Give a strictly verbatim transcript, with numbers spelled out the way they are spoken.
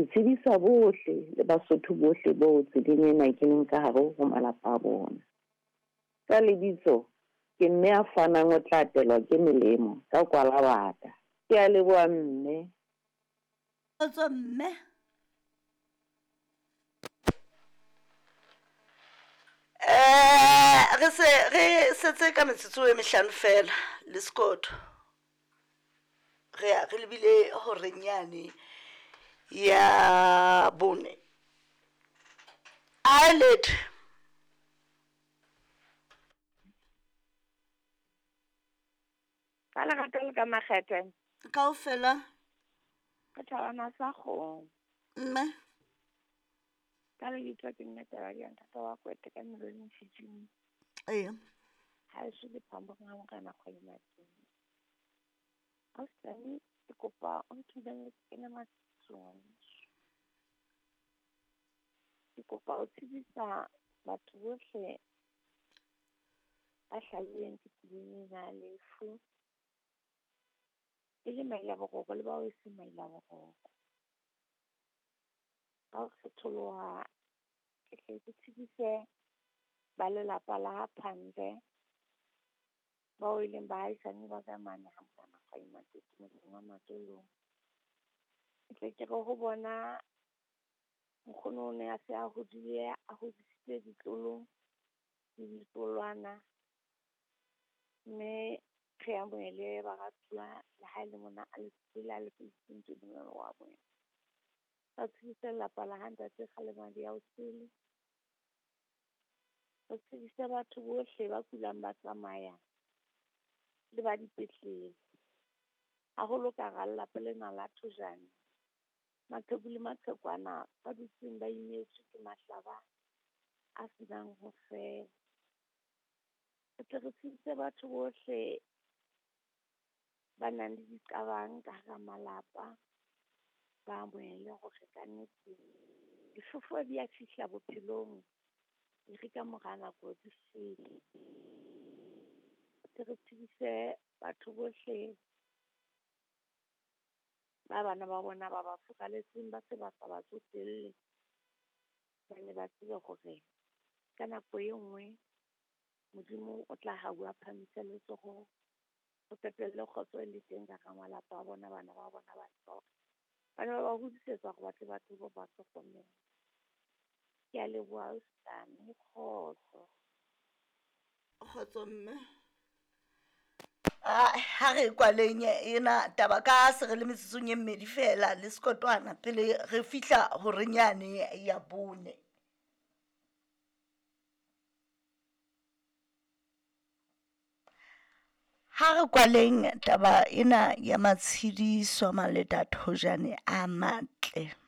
Ke tsebisa bohle le Basotho bohle bo tseleng ena ke leng ka hare ho malapa a bona. Ka lebitso ke mme a fanang o tla atelwa ke melemo ka kwalabata. Ke a leboha mme. Kgotso mme. Eh re se re setse ka metsotso e mehlano fela le sekotho, re ya re lebile horeng yane ya bone. A letho. Ka lerato le ka makgethe. Kaofela. Re thabana sa kgomo. Mme. Ka lebitso ke nna Tabadi ya ntate wa Kwete ka Melodi Fijing. Eya. Ha eso le phambong ha morena kgwedi matseng. Ausi ke kopa o nthibelle ke kene matsong. Ke kopa o tsebisa batho bohle ba hlahileng ke tseleng ena ya lefu. E le maila boroko le bao e seng maila boroko. Ka ho kgetholoha, ke hle ke tsebise ba lelapa la ha Phande, bao e leng baahisane ba ka mane ha morena Kgwadi motseng wa Matolong. Ke tle ke re ho bona nkgono o ne a se a hodile, a hodisitse ditloholo le ditloholwana, mme re amohele baratuwa le ha e le mona a le pele a le wa bona. Ba tsebise lelapa la ha ntate Kgalemadi ya Osele. Re tsebise batho bohle ba kulang ba tsamaya le ba dipetlele. Haholo ka hara lelapa lena la Thojane, maqheku le maqhekwana ba dutseng ba imetswe ke mahlaba a senang ho fela. Re tle re tsebise batho bohle ba nang le diqabang ka hara malapa, ba amohele hore kannete difefo di a fihla bophelong, e re ka mora nako di fete. Tle re tsebise batho bohle ba bana ba bona ba ba furaletseng, ba se ba sa ba tsotelle, ba ne ba tsebe hore ka nako e nngwe Modimo o tla hauwa phahamise letsoho, ho qetelle kgotso e le teng ka hara malapa a bona, bana ba bona ba tseba hore ba ne ba ba hodisetsa hore ba tle ba tsebe ho ba hlokomela. Ke a leboha ausi kgotso. Kgotso mme. Ha re kwaleng ena taba ka se re le metsotsong e mmedi fela le sekotwana pele re fihla horeng yane ya bone. Ha re kwaleng taba ena ya matshidiso Maleta Thojane a matle.